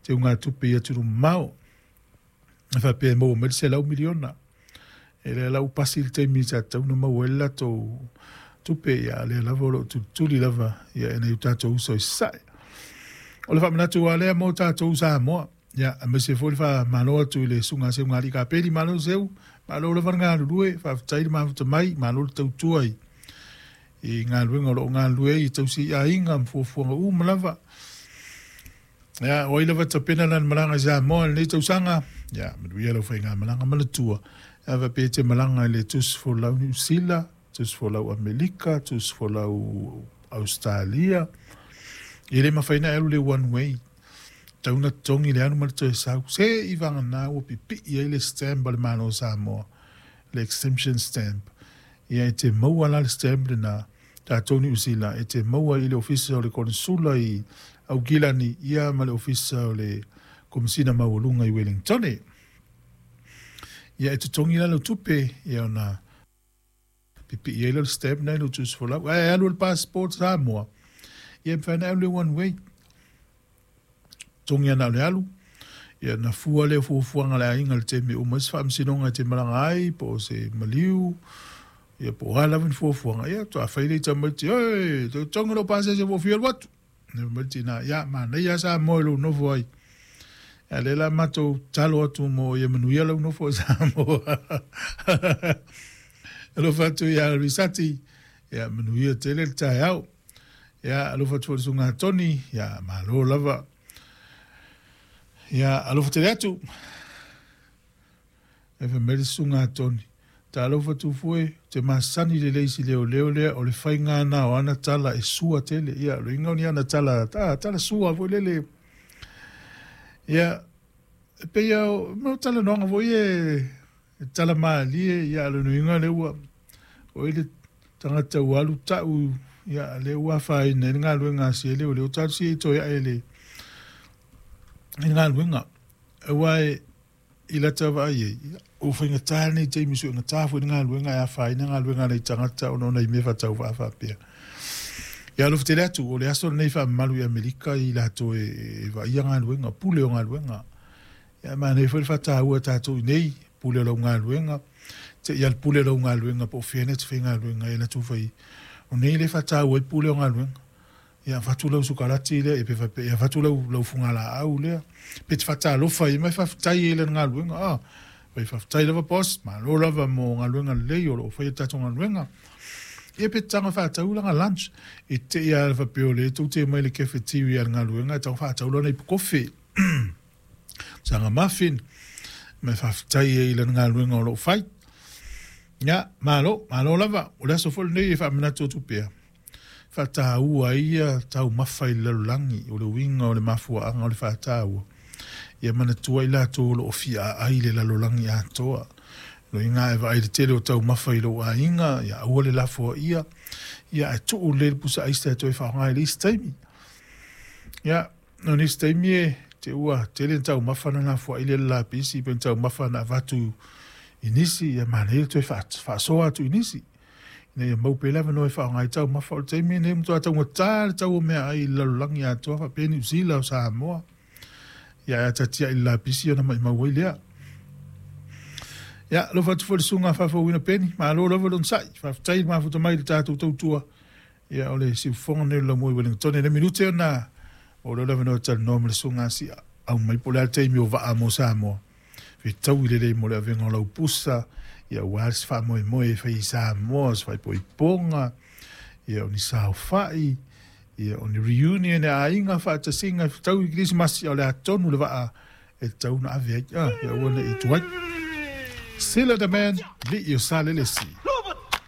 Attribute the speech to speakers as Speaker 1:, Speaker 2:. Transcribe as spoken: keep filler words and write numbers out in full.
Speaker 1: teugatupe i atunuu mamao e faapea e maua mai le selau miliona. E lea la ua pasi le taimi sa tatau ona maua ai le latou tupe, ia lea lava o loo tulituli lava ia e nai o tatou uso i Sasae. O le faamanatu lava lea mo tatou Samoa. Ia, aemaise foi le faamalo atu i le susuga a Seugalii Kapeli, malo Seu, malo lava le galulue, faafetai le mafuta mai, malo le tautua i i galuega o loo galulue ai i tausi aiga ma fuafuaga uma lava. Ia, o ai lava tapena lana malaga i Samoa i lenei tausaga, ia, manuia lau faigamalaga manatua, ia faapea e te malaga i le tusifolau Niu Sila, tusifolau Amerika, tusifolau Ausetalia, e le mafai ona e alu le one way, tatau ona totogi le alu ma le toe sau, se i vagana ua pipii ai le stamp a le Malo o Samoa, le exemption stamp. Ia e te maua la le stamp lena, tatou Niu Sila, e te maua i le ofisa o le Konesula i Aukilani, ia ma le ofisa o le Komesina Maualuga i Wellingtone. Ia e totogi la lau tupe, ia ona pipii ai lea o le stamp lena i lou tusifolau. Ae alu i le passport Samoa, ia e mafai ona e alu le one way. Totogi lava na o le alu, ia ona fua lea o fuafuaga a le aiga i le taimi e uma ai se faamasinoga e te malaga ai, po o se maliu, ia po o a lava ni fuafuaga, ia faatoa fai lea i tamaiti, oi, toe totogi lou pasese ua ou fia alu atu. Fai mai le tina, ia, manaia lava Samoa i lou nofo ai. A lea la matou tatalo atu mo ia manuia lau nofo i Samoa. Alofa atu ia Risati, ia manuia tele le taeao. Ia alofa atu foi i le susuga Toni, ia malo lava. Ia alofa tele atu. E fai mai le susuga Toni, talofa Tufue, ou te masani lelei i si leoleo lea, o le faiga na o ana tala e sua tele. Ia, o le uiga o ni ana tala, ta, tala sua foi lele. Ia, e pei lava o mea o talanoaga foi ia e tala malie, ia, o lona uiga lea ua, oi le tagata ua alu tau, ia, lea ua afaina ai le galuega a si leoleo, talosia ia toe ae i le, i le galuega. Aua e, i lata vaai ai, ua faigata lenei taimi suegata foi le galuega e afaina galuega a nai tagata ona o nai mea faatauvaa faapea. Ia alofa tele atu, o le aso lenei faamamalu i Amerika i latou e, e vaaia galuega, pule o galuega. Ia manaia foi le faataua e tatou i nei, pule o lau galuega, te i a le pule o lau galuega po o fea na te faigaluega ai latou fai. O nei le faataua ai pule o galuega. Ia avatu lau sukalati lea, ia pe faapea, ia avatu lau, lau fugalaau lea, pe te faatalofa ai ma e faafetai ai i lana galuega. Ah, fai faafetai lava boss, malo lava mo galuega lelei o lo o faia le tatou galuega. Ia pe te taga faatau lana lunch, e te i a faapea o lea tou te omai i le cafeteria a le galuega e taga faatau lana ipu kofe, sana muffin, ma e faafetai ai i lana galuega o lo o fai. Ia, malo, malo lava. O le aso foi lenei e faamanatu atu pea, faataua ai ia taumafa i le lalolagi, o le uiga o le mafuaaga o le faataua, ia manatua i latou o lo o fia aai i le lalolagi atoa. Loiga e vaai i le tele o taumafa i lou aiga, ia aua le lafoaia, ia ae tuu lelei le pusa aisa e toe faaaoga i le isi taimi. Ia, o nisi taimi e te ua tele ni taumafa na lafoai lea i le lapisi, pe ni taumafa na avatu i nisi, ia manaia le toe faasoa atu i nisi, ina ia mau pea le avanoa e faaaoga ai taumafa. O le taimi lenei ua matua taugata le tau o meaai i le lalolagi atoa, faapea Niu Sila o Samoa. Ia ae a tatiai i le lapisi ona maimau ai lea. Ia, alofa atu foi i le susuga faafouina Peni, malo lava le onosai, faafetai le mafuta mai i le tatou tautua. Ia, o le siufofoga lenei o le laumua i Wellington. Le minute ona o lea o le avanoa e talanoa ma le susuga Sia au mai po o le a le taimi o vaa mo Samoa. Fetaui lelei mo le avega o lau pusa, ia aua se faamoemoe e fai i Samoa, o se faaipoipoga, ia o ni saofai, ia o ni reunion e aiga faatasiga e fetaui i Kerisimasi, a o le a tonu le vaa e tatau ona ave ai, ah, ia aua ne i tuai. Sila the man, lii o Salelesi.